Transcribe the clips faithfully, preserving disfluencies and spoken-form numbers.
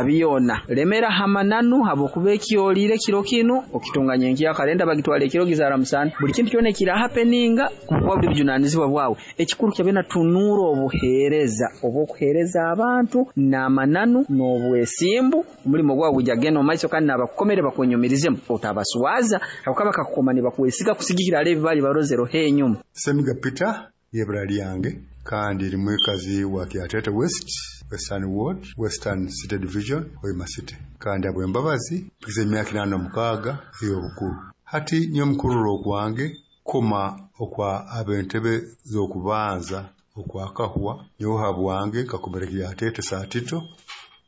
Byona lemera hamananu, habwokuba ekyoliire kiro kinu okitunga nyenkya kare, bagitwara ekiro gizaara musana. Buli kintu kyona ekira happeninga bukuba buli bujunaanizibwa bwawe. Ekikuru kyabyoona, tunuura obuheereza obw'okuheereza abantu n'amananu n'obwesimbu, omulimo gwawe gwijja kugenda omumaiso kandi n'abakukomere bakwenyumirizemu. Otabaswaza, habwokuba bakakukoma nibakwesiga kusigikira hali ebi baali barozereho enyuma. Semiga Peter lyebara lyange, kandi ndi mwikazi wa Kyatete West, Western Ward, Western City Division, Hoima City. Kandi habw'embabazi mpikize emyaka inaana mukaaga ey'obukuru. Hati nyowe mukurora okwange, kukoma okwa ab'entebe z'okubanza okwakahwa, nyowe habwange nkakomera Kyatete Saatito,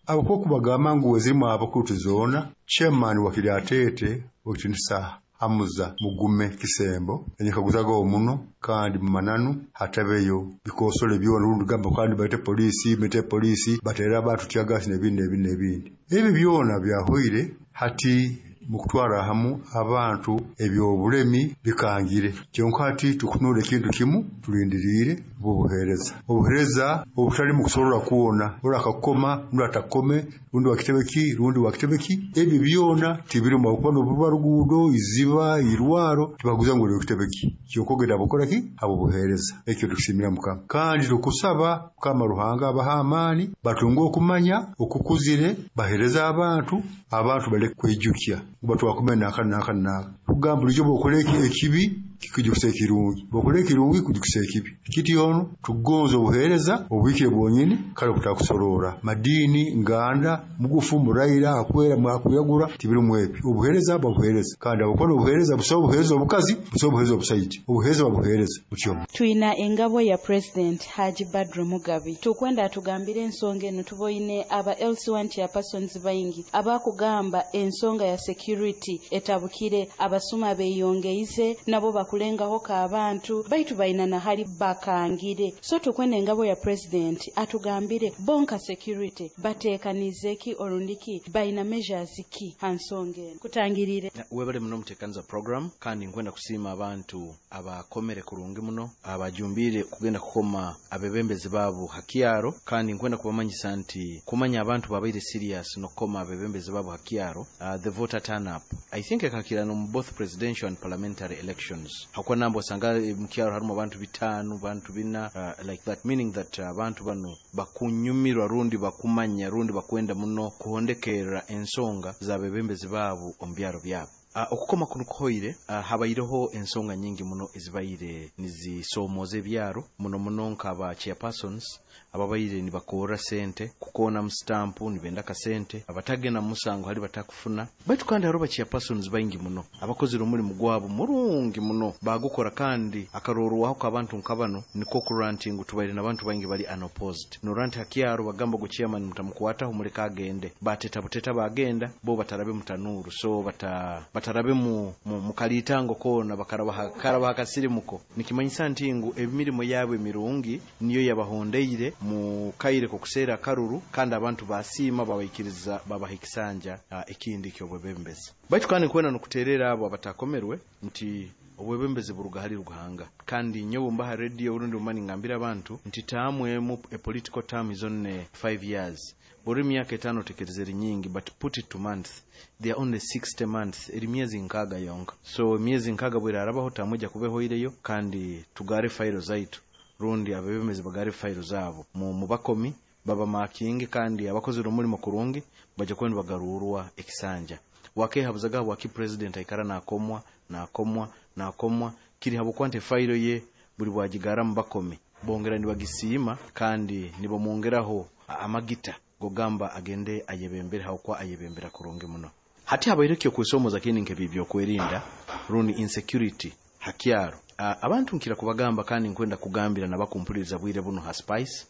habwokuba kubagamba ngu ezirimu abakuru tizoona. Chairman wa Kiryatete, owekitinisa Hamuza Mugume Kisembo, enyekaguzagaho muno, kandi mumananu hatabeyo bikosole byona, rundi gamba kandi balete poliisi, bete poliisi batere abantu teargas n'ebindi n'ebindi n'ebindi. Ebi byona byahoire. Hati mukutwara hamu abantu ebyobulemi bikangire, kyonka hati tukutunura ekintu kimu, tulindiriire obuheereza obuheereza obutalimu kusorora kwona, ori akakukoma rundi atakukome, rundi wakitebe ki, rundi wakitebe ki, ebyo byona tibirimu, habwokuba noburuba ruguudo, iziba, irwaro, tibakuguza ngu ori w'ekitebe ki, kyonka ogenda habwokukora ki? Habw'obuheereza. Ekyo tukusiimira Mukama, kandi tukusaba Mukama Ruhanga abahe amaani, batunge okumanya okukuzire, baheereze abantu, abantu baleke kweijukya ngu batwakomere nanka nanka nanka. Kugamba bulijjo bw'okora ekibi kikwijukisa ekirungi, bw'okora ekirungi kikwijukisa ekibi. Kityo tukugonza obuheereza obuhikire bwonyini, kale obutakusorora madiini, nganda, mugufu, muraira, akwera, akwiragura, tibirimu ebyo. Obuheereza babuheereza, kandi habwokuba n'obuheereza busaho obuheereza obukazi, busaho obuheereza obusaija, obuheereza babuheereza butyo. Twina engabo ya President Haji Badru Mugabi. Tukwenda atugambire ensonga eno. Tuboine aba L C one chairpersons baingi abakugamba ensonga ya security etabukire, abasuma beyongeize, nabo bakulengaho ka abantu baitu baina nahali bakangire. So tukwenda engabo ya president atugambire bonka security batekanize ki, orundiki baina measures ki ha nsonga eno kutangirire. Webale muno mutekaniza program, kandi nkwenda kusiima abantu abakomere kurungi muno, abajumbire kugenda kukoma abebembezi baabo hakyaro. Kandi nkwenda kubamanyisa nti kumanya abantu babaire serious nokukoma abebembezi baabo hakyaro, uh, the voter turn up I think ekakirana mu both presidential and parliamentary elections, hakuba namba osanga mukyaro harimu abantu bitaano, bantu bina, uh, like that, meaning that abantu bano bakunyumirwa rundi bakumanya rundi bakwenda muno kuhondekerera ensonga z'abebembezi baabo omu byaro byabo. Uh, okukoma kuno kuhoire, uh, habaireho ensonga nyingi muno ezibaire nizisomoza ebyaro muno muno, nk'aba chairpersons ababaire nibakorra sente kukona mu stampu, nibenda kasente, abatagenda mu musango hali batakufuna. Baitu kandi hariho ba chairpersons baingi muno abakozire omulimu gwabo murungi muno, bagukora, kandi akarorwaho k'abantu nka bano niko kurora nti ngu tubaire n'abantu baingi bali unopposed. Norora nti hakyaro bagamba go chairman mutamukwataho, muleka agende, bateta buteta bagenda bo batarabe mutanuru, so bata batarabe mu, mu, mu kalitango kona, bakaraba karaba akasirimuko. Nikimanyisa nti ngu emirimo yabo emirungi niyo yabahondeire mu kaire kokuseera akaruru, kandi abantu basiima, babaikiriza, babaha ekisanja uh, ekindi ky'obwebembezi. Baitu kandi nkwenda nokuterera abo abatakomerwe nti obwebembezi buruga hali Ruhanga. Kandi nyowe mbaha radio urundi mumani ngambira abantu nti term emu, a political term is only five years, buri myaka etaano tekereza eri nyingi, but put it to months, they are only sixty months, eri myezi nkaaga yonka. So emyezi nkaaga bwerarabaho, term ejja kuba ehoireyo, kandi tugare fayiro zaitu, rundi abebembezi bagare fayiro zaabo mu, mu bakomi baba makingi, kandi abakozere omulimo kurungi bajja kuba nibagarurwa ekisanja. Wakehabuzaga waki president aikara nakomwa, nakomwa, nakomwa? Kiri habwokuba nti fayiro ye buli bwagigara mu bakomi bongera nibagisiima, kandi nibamwongeraho amagita gogamba agende ayebembere, habwokuba ayebembera kurungi muno. Hati habaire kyokwesomooza kindi nkebi byokwerinda rundi insecurity hakyaro. uh, abantu nkira kubagamba, kandi nkwenda kugambira nabakumpuliriza bwire buno ha Spice,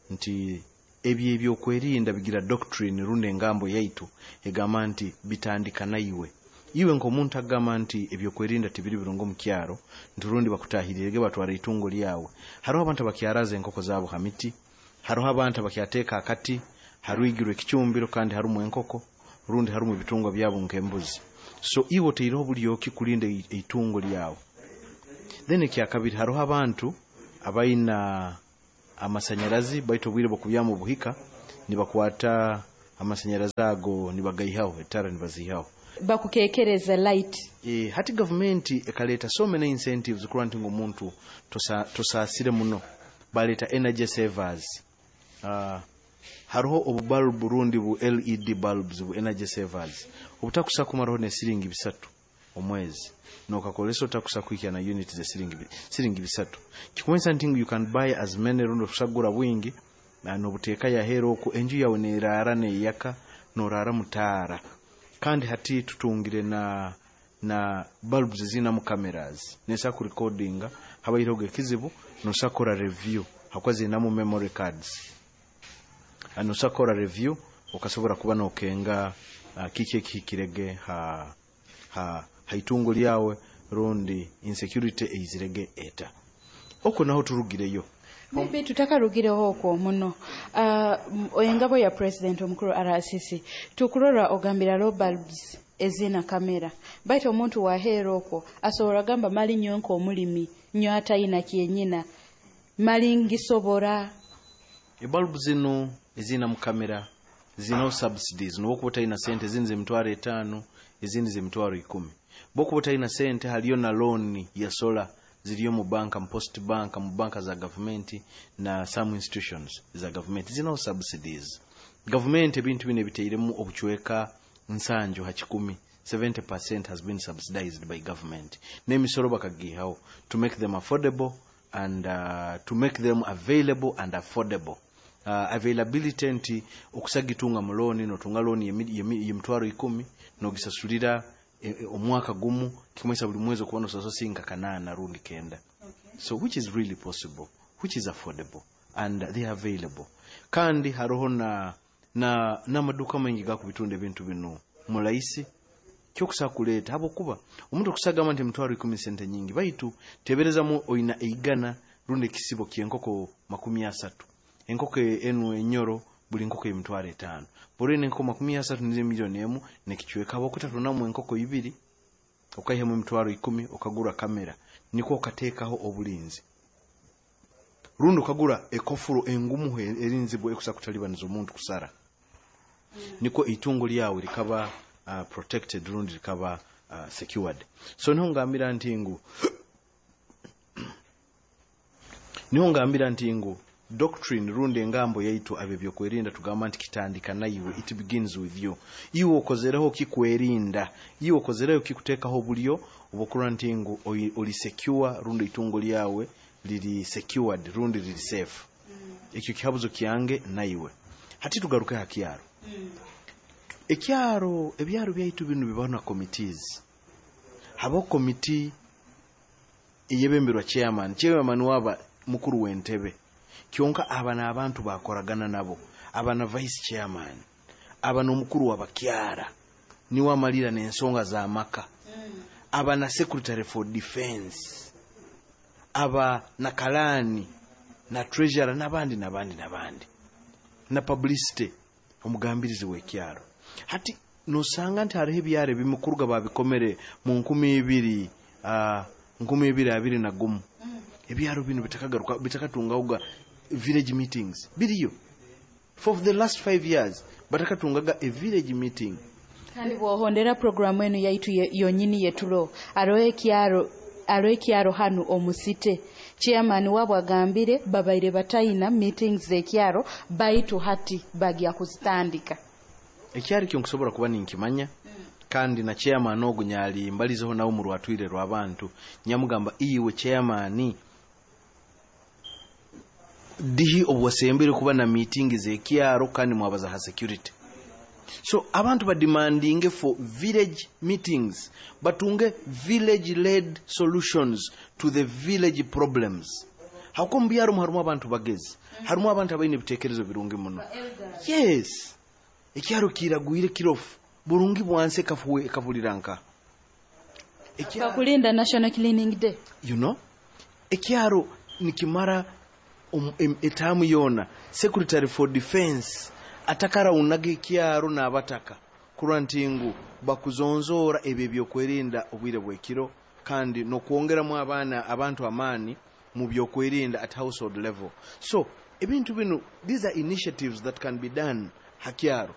nti ebyo ebyokwerinda bigira doctrine rundi engambo yaitu egamba nti bitandika naiwe, iwe nk'omuntu agamba nti ebyokwerinda tibiri birungi omu kyaro, nti rundi bakutahirirege batwara itungo lyawe. Hariho abantu abakyaraza enkoko zaabo ha miti, hariho abantu abakyateeka akati harwigirwe ekicumbiro kandi harumu enkoko rundi harumu ebitungwa byabo nk'embuzi. So iwe oteireho bulyoki kulinda eitungo lyawe? Then ekyakabiri, hariho abantu abaina amasanyarazi, baitu obwire bw'okubyama obuhika nibakwata Amasanyarazi ago nibagaihaho, etara nibazihaho. Bakukekereza light. E, hati gavumenti ekaleta so many incentives kurora nti omuntu tosa, tosaasire muno. Baleta energy savers. uh, hariho obubalbu rundi bu L E D bulbs bu energy savers obutakusa kumaraho ne siringi bisatu omwezi, nokakolesa otakusa kuhikya na unit ze siringi siringi bisatu. Kikumanyisa nti you can buy as many rundi okusagura bwingi na nobuteeka yahera oku enju yawe nerara neyaka, norara mutaara. Kandi hati tutungire na na bulbs zinamu cameras, nesa kurecordinga habaireho ekizibu, nosakora review hakuba zinamu memory cards. Nosakora review okasobora kuba nokenga uh, kiki ekihikirege ha ha haitungo lyawe rundi insecurity eizirege eta oko naho turugireyo. Maybe tutakarugireho okwo muno. uh, engabo ya president omukuru R C C, tukurora ogambira low bulbs ezina kamera, baitu omuntu waheera okwo asobola gamba mali nyo nk'omulimi nyo atayina kyenyina mali ngisobora. Ebalbu zino ezina mu kamera zinaho subsidies. Nokuba otalina sente, ezindi zemitwaro etaano, ezindi zemitwaro ikumi. Bokuba otalina sente, haliyo na loan ya solar ziriyo mu banka, mu Post Bank, mu banka za gavumenti na some institutions za gavumenti zinaho subsidies. Gavumenti ebintu bino ebiteiremu obucweka nsanju ha kikumi, seventy percent has been subsidized by government, n'emisoro bakagihaho to make them affordable and uh, to make them available and affordable. uh, availability nti okusagitunga mu looni, notunga looni yemitwaro ikumi, nogisasulira e, e, omwaka gumu, kikumanyisa buli mwezi okuba nosasula singa kanaana rundi kenda. So which is really possible, which is affordable, and they are available. Kandi haroho na na n'amaduka maingi gakubitunda ebintu bino mulaisi kyokusa kuleeta, habwokuba omuntu okusagamba nti emitwaro ikumi sente nyingi, baitu teberezamu oina eigana rundi ekisibo ky'enkoko makumi asatu, enkoko enu enyoro buli nkoko emitwaro etaano, buli enkoko makumi asatu nizo miliyoni emu nekicweka. Habwokuta tunamu enkoko ibiri, okaihamu emitwaro ikumi, okagura kamera, nikwo okateekaho obulinzi, rundi okagura ekofuro engumu erinzibwa ekusa kutalibaniza omuntu kusara, nikwo itungo lyawe likaba uh, protected rundi likaba uh, secured. So niho ngambira nti ngu niho ngambira nti ngu doctrine rundi engambo yaitu ab'ebyokwerinda tugamba nti kitandika naiwe, it begins with you. Iwe okozereho kikwerinda, iwe okozereho kikuteekaho obulyo obwokurora nti ngu oli secure rundi itungo lyawe liri secured rundi liri safe. Ekyo kihabuzo kyange naiwe. Hati tugaruke ha kyaro. Ekyaro, ebyaro byaitu bino bibaho na committees. Habaho komiti eyebemberwa chairman. Chairman waba mukuru w'entebe, kyonka aba n'abantu bakoragana nabo, aba na vice chairman, aba n'omukuru w'abakyara niwe amalira n'ensonga z'amaka, aba na secretary for defense, aba na kalani na treasurer n'abandi n'abandi n'abandi, na publicity, omugambirizi w'ekyaro. Hati nosanga nti hariho ebyaro ebimikuruga babikomere mu nkumi ibiri uh, nkumi ibiri abiri na gumu, ebyaro bino bitakagaruka, bitakatungaga village meetings. Biriyo for the last five years batakatungaga a village meeting. Kandi bwohondera programu enu yaitu yonyini yetulo, aroho ekyaro, aroho ekyaro hanu omusite, chairman wabwe agambire babaire batayina meetings z'ekyaro, baitu hati bagya kuzitandika. Ekyaro kyo nkusobola kuba ninkimanya, kandi na chairman ogu nyali mbalizeho nawe mu rwatwire rw'abantu, nyamugamba, iwe chairman, dihi obuwasembere kuba na meeting z'ekyaro kandi mwabaza ha security? So abantu bademandinge for village meetings, batunge village led solutions to the village problems. Hakuba mu byaro harimu abantu bagezi, harimu abantu abaine ebitekerezo birungi muno. Yes, ekyaro kiragwire kirofu burungi bwansi ekafuwe ekafulira nka Bakulinda National Cleaning Day. You know, ekyaro nikimara um, em, etaamu yoona secretary for defense atakaraunaga ekyaro n'abataka kurwa nti ngu bakuzonzoora ebyo ebyokwerinda obwire bwekiro, kandi n'okwongeramu abaana abantu amaani mu byokwerinda at household level. So ebintu bino, these are initiatives that can be done hakyaro.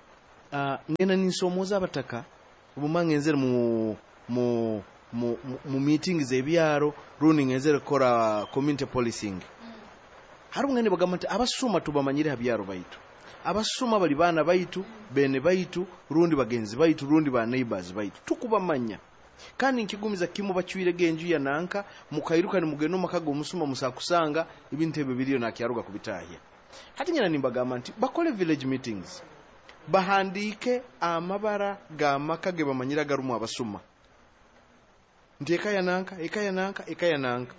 Uh, ngenda ninsomooza abataka obuma ngenzere mu mu mu, mu, mu meetings ebyaro rundi ngenzere kukora community policing. Hariho ngende bagamba nti abasuma tubamanyire ha byaro baitu, abasuma bali baana baitu, bene baitu, rundi bagenzi baitu, rundi ba neighbors baitu, tukubamanya. Kandi nkigumiza kimu bacwirege enju ya nanka mukairuka nimugenda omaka g'omusuma musakusanga ebintu ebyo biriyo nakyaruga kubitahya. Hati nyina nimbagamba nti bakole village meetings, bahandiike amabara g'amaka ge bamanyira garumu abasuma, nti eka ya nanka, eka ya nanka, eka ya nanka.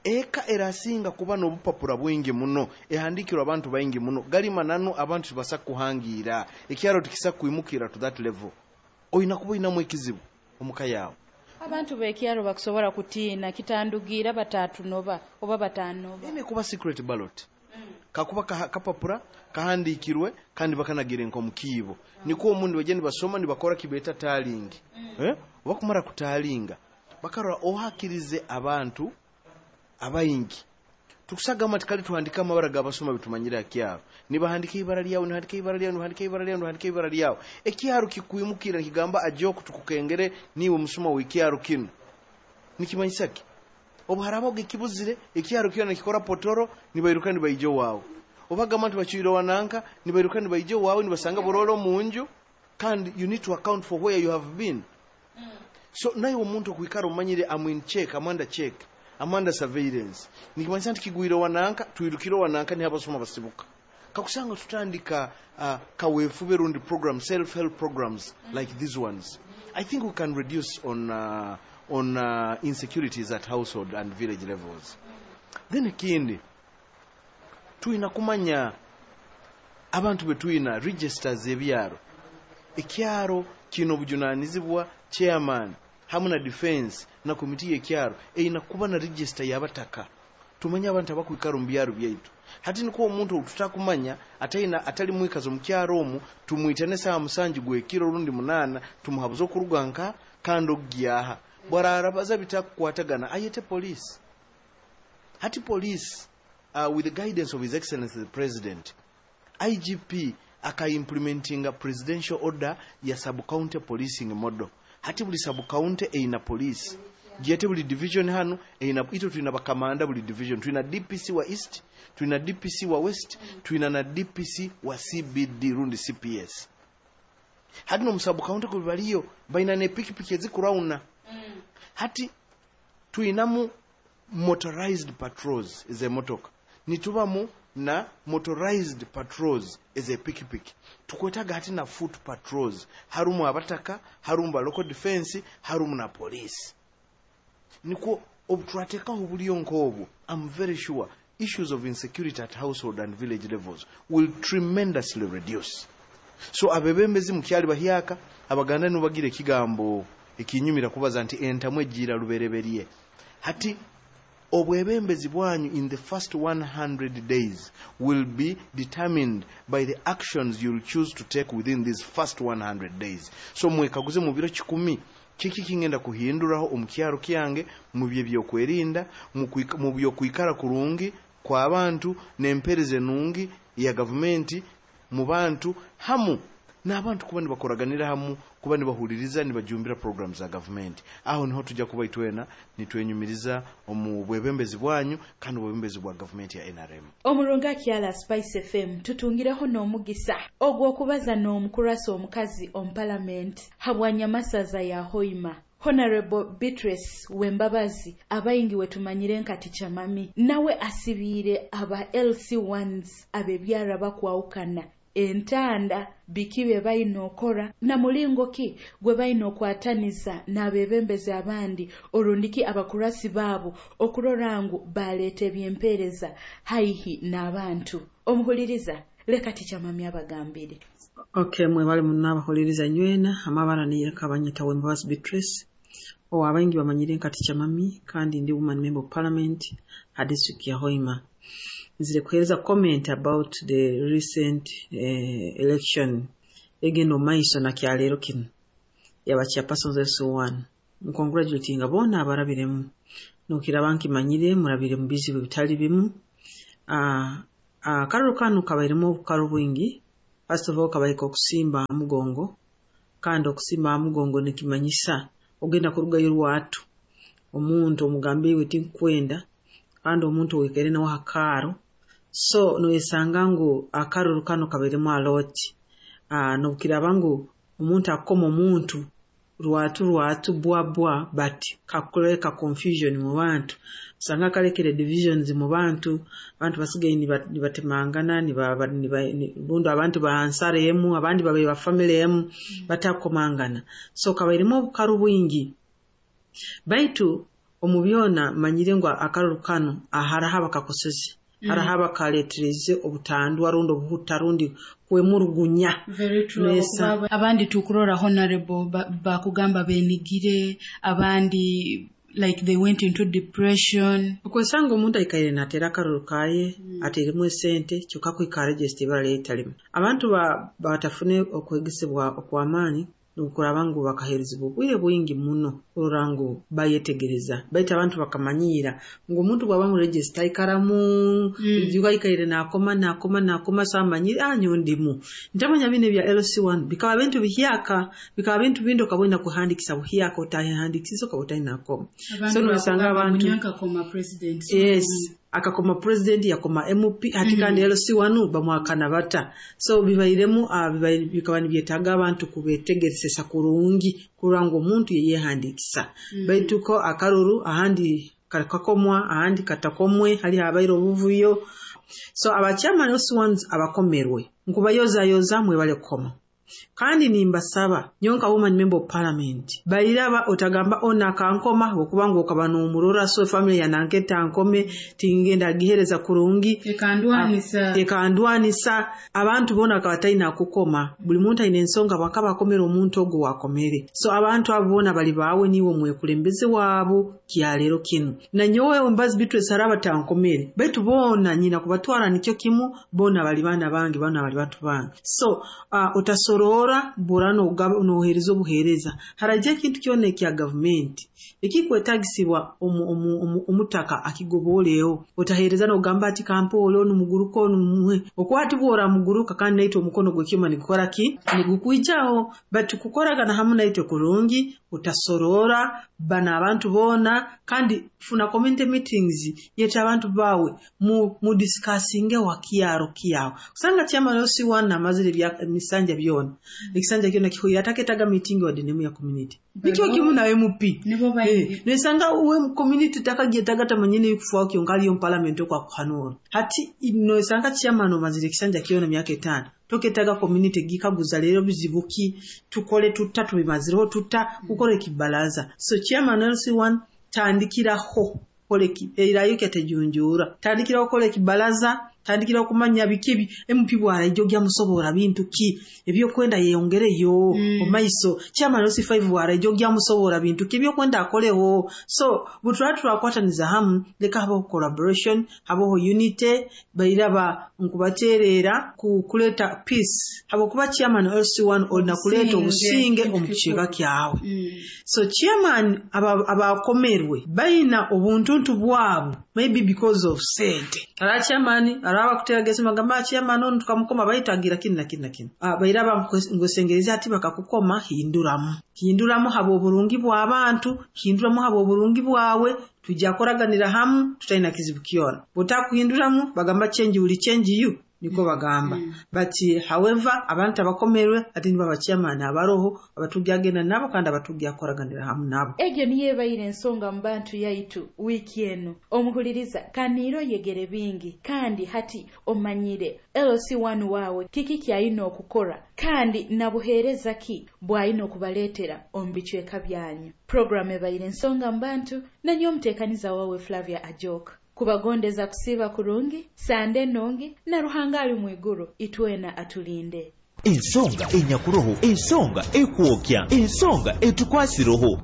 Eka erasinga kuba n'obupapura bwingi muno, ehandikirwa abantu baingi muno, gali mananu abantu tibasa kuhangira, ekyaro tikisa kwimukira to that level. Oyina kuba oyinamu ekizibu omuka yawe. Abantu b'ekyaro bakusobola kutiina kitandugira batatunoba oba batanoba. Ene kuba secret ballot. Kakuba kaha, kapapura kahandikirwe kandi bakanagire nko mukiibo, niko omundi baje nibasoma nibakora kibeta tallying. mm. eh bakumara kutalinga bakarora ohakirize abantu abayingi. Tukusagamba tikali tuhandika amabara g'abasoma bitumanyira kyaro, nibahandika ibara lyawe, nibahandika ibara lyawe, nibahandika ibara lyawe, nibahandika ibara lyawe. Ekyaro kikwimukira kigamba ajoku tukukengere niwe musuma w'ikyaro kino. Nikimanyisa ki? Obu harabaho ekibuzire ekyaro kyona nikikora potoro, nibairuka nibaija waawe. Obagamba nti bacwire wananka, nibairuka nibaija waawe, nibasanga bororo omunju. Kandi you need to account for where you have been. So naye omuntu okwikara omanyire am in check, am under check, am under surveillance, nikimanyisa nti kigwire wananka twirukire wananka, niho abasoma basibuka. Kakusanga tutandika uh, kaweefube rundi program, self help programs like these ones, I think we can reduce on uh, on uh, insecurities at household and village levels. Then ekindi, tuyina kumanya abantu betuyina registers ebyaro. Ekyaro kino obujunanizibwa chairman hamu na defense na komiti y'ekyaro eyina kuba na register y'abataka, tumanye abantu abakwikara omu byaro byaitu. Hati niko omuntu tutakumanya ataina atali mwikazo mu kyaro omu, tumwitane saa musanju gwekiro rundi munana, tumuhabuze okuruga nka kandi ogyaha bwararabaza bitakukwatagana ayete police. Hati police, uh, with the guidance of His Excellency the President, I G P akaimplementinga presidential order ya sub-county policing model. Hati buli sub-county eyina police gyete, buli division hano eyina ito. Tulina bakamanda buli division, tulina D P C wa East, tulina D P C wa West, tulina na D P C wa C B D rundi C P S. Hati no mu sub-county kuli baliyo balina nepikipiki ezikurawuna. Hati tulinamu motorized patrols ez'emotoka, nitubamu na motorized patrols ez'epikipiki, tukwetaga hati na foot patrols, harumu abataka, harumu ba local defense, harumu na police. Nikwo obuturateekaho bulyo nk'obwo, I'm very sure issues of insecurity at household and village levels will tremendously reduce. So abebembezi mukyali bahyaka, Abaganda nibagira ekigambo ekinyumira kubaza nti entamu ejiira lubereberye. Hati obwebembezi bwanyu in the first one hundred days will be determined by the actions you'll choose to take within these first one hundred days. So mwekaguze mu biro kikumi, kiki kingenda kuhinduraho omu kyaro kyange mu bye byokwerinda, mu byokwikara kurungi kw'abantu n'empereza enungi ya gavumenti mu bantu, hamu n'abantu kuba nibakoraganira hamu, kuba nibahuliriza, nibajumbira programs za gavumenti. Aho niho tujja kuba itwena nitwenyumiriza omu bwebembezi bwanyu kandi obwebembezi bwa gavumenti ya N R M. Omurungi akyala Spice F M, tutungireho n'omugisa ogw'okubaza n'omukurasa omukazi omu palamenti habwanyamasaza ya Hoima, Honorable Beatrice Wembabazi, abayingi wetumanyire nka Teacher Mami. Nawe asibiire aba L C ones abebyara bakwawukana entanda, biki bye balina okora na mulingo ki gwe balina okwataniza n'abebembezi abandi orundiki abakurasi baabo okurora ngu baleeta ebyempeereza haihi n'abantu. Omuhuliriza, leka Teacher Mami abagambire. Okay, mwebale muno abahuliriza nywena. Amabara niye Kabanyeta Wembabazi Beatrice, o abaingi bamanyire nka Teacher Mami, kandi ndi woman member of parliament ha district ya Hoima. Nzire kuhereza comment about the recent eh, election egenda omumaiso na kyaleero kino yaba chairpersons L C one. Ncongratulatinga boona abarabiremu, nokiraba nkimanyire murabire mu bizibu bitali bimu. uh, uh, akaruru kanu kabairemu obukaru bwingi. First of all, kabahika okusimba aha mugongo, kandi okusimba aha mugongo nikimanyisa ogenda kurugayo rwatu. Omuntu omugambe iwe tinkwenda, kandi omuntu oikere nawe aha kaaro. So noyesanga ngu akaruru kano kabairemu a lot. Uh, nobukiraba ngu omuntu akukoma omuntu rwatu rwatu bwa bwa, but kakuleka confusion mu bantu, osanga kalekere divisions mu bantu, abantu basigaye nibatemangana, bundu abantu bansara emu, abandi babaire ba family emu batakomangana. So kabairemu obukaru bwingi. Baitu omu byona manyire ngu akaruru kano haraho abakakoseze, haraho abakaleetereze obutandwa rundi obuhuta rundi kwemurugunya. Very true. Abandi tukurora honorable bakugamba benigire, abandi like they went into depression. Okwesanga omuntu aikaire natera akaruru kaye, mm. ateremu esente, kyokka kwikara register ibara lyeitalimu. Abantu ba batafune okwegesebwa okw'amaani nukuraba ngu bakaherezibwa obwire bwingi muno kurora ngu bayetegereza. Baitu abantu bakamanyira ngu omuntu bwaba mu register aikaramu, mm. aikaire nakoma nakoma nakoma, so amanyire anyo ndimu. Ntamanya bine bya L C one bikaba bintu bihyaka, bikaba bintu bindo kabwenda kuhandikisa buhyaka, utahandikisa ukaba nakoma. So nosanga abantu akakoma president. Yes. Akakoma president, yakoma M P, hati kandi mm -hmm. L C one bamwakana bata. So bibairemu uh, bikaba nibyetaaga abantu kubetegeresa kurungi kurora ngu omuntu yeyehandikisa. Mm -hmm. Baitu ko akaruru ahandi kakomwa, ahandi katakomwe, hali habaire obuvuyo. So abachairman L C ones abakomerwe nkubayoza yoza mwebale kukoma. Kandi nimbasaba nyonka woman member of parliament bairaba otagamba ona kankoma okubanga okaba n'omurora, so family yananketa nkome tingenda gihereza kurungi ekandwanisa ekandwanisa abantu bona akabataina kukoma. Buli muntu aine ensonga bakaba akomera omuntu ogo wakomere. So abantu abo bona bali bawe niwe mwekulembeze wabo kyalero kinu na nyowe Mbazi Beatrice araba tankomere, baitu bona nyina kubatwara nikyo kimu, bona bali bana bange, bana bali bantu bange. So uh, utasorora bora nohereza obuhereza. Haraje ekintu kyona ekya government ekikwetagisibwa omutaka akigoboleyo, otahereza nogamba ati kampolo numuguruko numuhe okwati bwora muguruka kandi naitwe omukono gwekyuma nigukora ki nigukwijaho. But kukoragana hamu naitwe kurungi, utasorora bana abantu bona, kandi funa community meetings yeta abantu bawe mu, mu discussinge wakiaro kiao. Kusanga chairman L C one namazire bya misanja byona ekisanja kyona kihuira ataketaga meeting wa dinemu ya community nikyo kimu na M P eh, nesanga uwe community takagyetaga tamanyene yukufuwa kyonka aliyo parliament okwa kuhanura. Hati nesanga chairman omazire ekisanja kyona myaka etano toketaga community gikaguza lero bizibuki tukole tutta tubimazireho tutta kukora ekibalaza. So chairman L C one tandikiraho koleki erayo ketejunjura, tandikiraho kola ekibalaza, tandikira okumanya biki M P bwara ijogya musobora bintu ki ebyokwenda yeyongereyo mm. omaiso. Chairman L C five bwara ijogya musobora bintu ki ebyokwenda akoleho. So butwa turakwataniza hamu, leka habaho collaboration, habaho unity, bairaba nkubaterera ku kuleta peace. Habo kuba chairman L C one olina kuleta obusinge omukicheka kyawe. Mm. So chairman abakomerwe aba baina obuntuntu bwabo maybe because of sente. Ara chairman araba kutegesa magamba chairman ono tukamukoma baitagira kini na kini na kini. Ah, bairaba ngwesengereza ati bakakukoma hinduramu. Hinduramu habo oburungi bw'abantu, hinduramu habo oburungi bwawe, tujja koraganira hamu tutaina kizibu kyona. Botakuhinduramu bagamba change uli change you niko bagamba. Mm. But however abantu abakomerwe ati niba chairman abaroho abatujagenda nabo kandi abatujja koraganira hamu nabo. Egyo niye baire ensonga mu bantu yaitu wiki eno. Omuhuliriza kaniro yegere bingi kandi hati omanyire L C one wawe kiki kyayina okukora kandi nabuhereza ki bwayina okubaleetera omu bicweka byanyu. Program ebaire ensonga mu bantu nanyo omuteekaniza wawe Flavia Ajok. Kubagondeza kusiba kurungi, sande nongi, na Ruhanga ali mwiguru, itwena atulinde. Ensonga enyakuroho, ensonga ekwokya, ensonga etukwasiroho.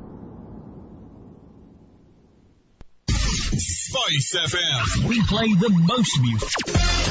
Spice F M. We play the most music.